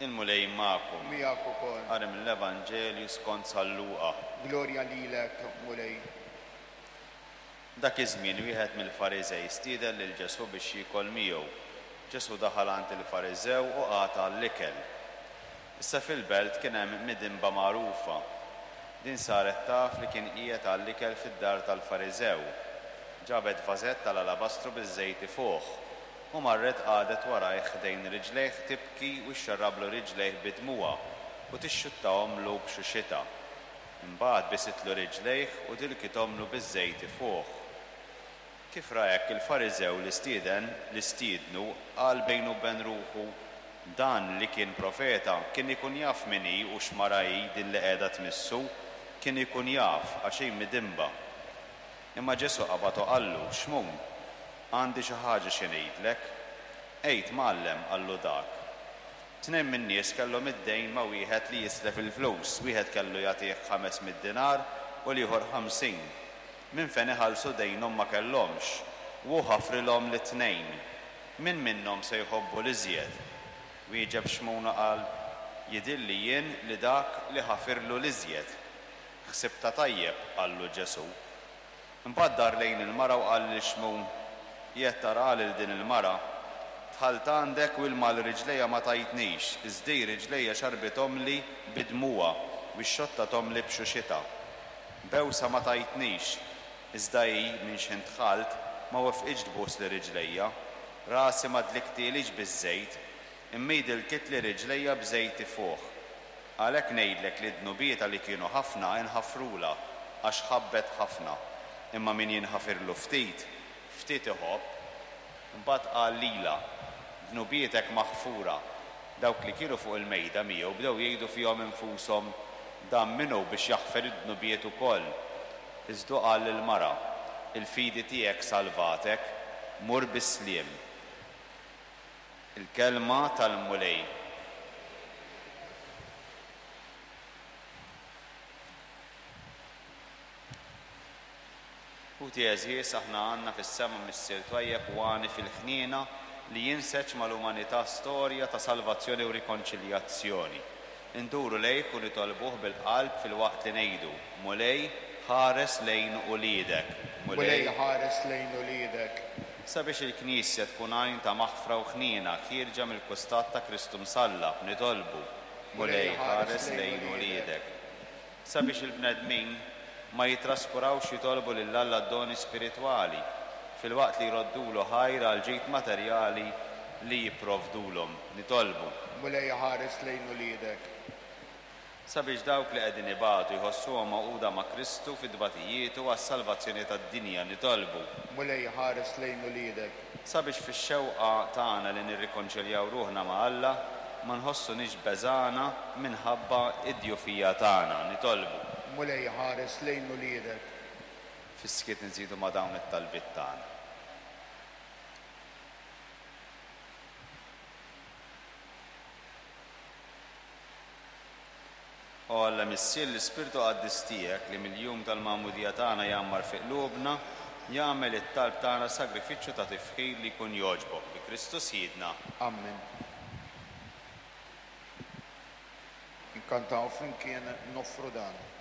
Il-Mulej magħkom. Miegħek ukoll. Qari mill-Evanġelju skont San Luqa. Glorja lilek, Mulej. Dak iż-żmien wieħed mill-Fariżej stieden lil Ġesù biex jiekol miegħu. Ġesù daħal għand il-Fariżew u qagħad għall-ikel. Issa fil-belt kien hemm midinba magħrufa. Din saret taf li kien qiegħed għall-ikel fid-dar tal-Fariżew. Ġabet vażett tal-alabastru biż-żejt ifuħ, u marret qagħdet warajh ħdejn riġlejh tibki u xxarrablu riġlejh bi dmugħha u tixxuttahomlu b'xuxitha. Imbagħad bisitlu riġlejh u dilkithomlu biż-żejt ifuħ. Kif ra hekk il-Fariżew li stieden, li stiednu, qal bejnu u ben ruħu, Dan li kien profeta, kien ikun jaf min hi u x'mara hi din li qiegħda tmissu, kien ikun jaf, għax hi midinba. Imma Ġesù qabad u qallu, Xmun, għandi xi ħaġa xi ngħidlek. Għid, Mgħallem, qallu dak. Tnejn min-nies kellhom id-dejn ma' wieħed li jislef il-flus, wieħed kellu jagħtih 500 dinar u l-ieħor 50. Minn fejn iħallsu dejnhom ma kellhomx, u hu ħafrilhom lit-tnejn. Min minnhom se jħobbu l-iżjed? Wieġeb Xmun u qal, Jidhirli jien li dak li ħafirlu l-iżjed. Ħsibtha tajjeb, qallu Ġesù. Imbagħad dar lejn il-mara u qal lil Xmun, Qiegħed taraha lil din il-mara? Dħalt għandek u ilma għal riġlejja ma tajtnix, iżda hi riġlejja xarbithomli bi dmugħha u xxottathomli b'xuxitha. Bewsa ma tajtnix, iżda hi, minn x'ħin dħalt, ma wefqitx tbusli riġlejja. Rasi ma dliktielix biż-żejt, imma hi dilkitli riġlejja b'żejt ifuħ. Għalhekk ngħidlek li dnubietha li kienu ħafna inħafrulha, għax ħabbet ħafna. Imma min jinħafirlu ftit, ftit iħobb. Imbagħad qal lilha, Dnubietek maħfura. Dawk li kienu fuq il-mejda miegħu bdew jgħidu fihom infushom, Dan min hu biex jaħfer id-dnubiet ukoll? Iżda hu qal lill-mara, Il-fidi tiegħek salvatek, mur bis-sliem. Il-Kelma tal-Mulej. Ħuti għeżież, aħna għandna fis-sema Missier twajjeb u għani fil-ħniena li jinseġ mal-umanità storja ta' salvazzjoni u rikonċiljazzjoni. Induru lejh u nitolbuh bil-qalb filwaqt li ngħidu, Mulej, ħares lejn uliedek. Mulej, ħares lejn uliedek. Sabiex il-Knisja tkun għajn ta' maħfra u ħniena ħierġa mill-kustat ta' Kristu msallab, nitolbu, Mulej, ħares lejn uliedek. Sabiex il-bnedmin ma jittraskurawx jitolbu lil Alla d-doni spiritwali, filwaqt li jroddulu ħajr għall-ġid materjali li jipprovdulhom, nitolbu. Mulej, ħares lejn uliedek. Sabiex dawk li qegħdin ibatu jħossuhom magħquda ma' Kristu fi tbatijietu għas-salvazzjoni tad-dinja, nitolbu. Mulej, ħares lejn uliedek. Sabiex fix-xewqa tagħna li nirrikonċiljaw ruħna ma' Alla, ma nħossuniex beżgħana minħabba d-djufija tagħna, nitolbu. Mulej, ħares lejn uliedek. Fis-skiet inżidu ma' dawn it-talbiet tagħna. O Alla Missier, l-Ispirtu Qaddis tiegħek li mill-jum tal-magħmudija tagħna jgħammar fi qlubna, jagħmel it-talb tagħna sagrifiċċju ta' tifħir li jkun jogħġbok, bi Kristu Sidna. Ammen. Inkantaw flimkien noffru dan.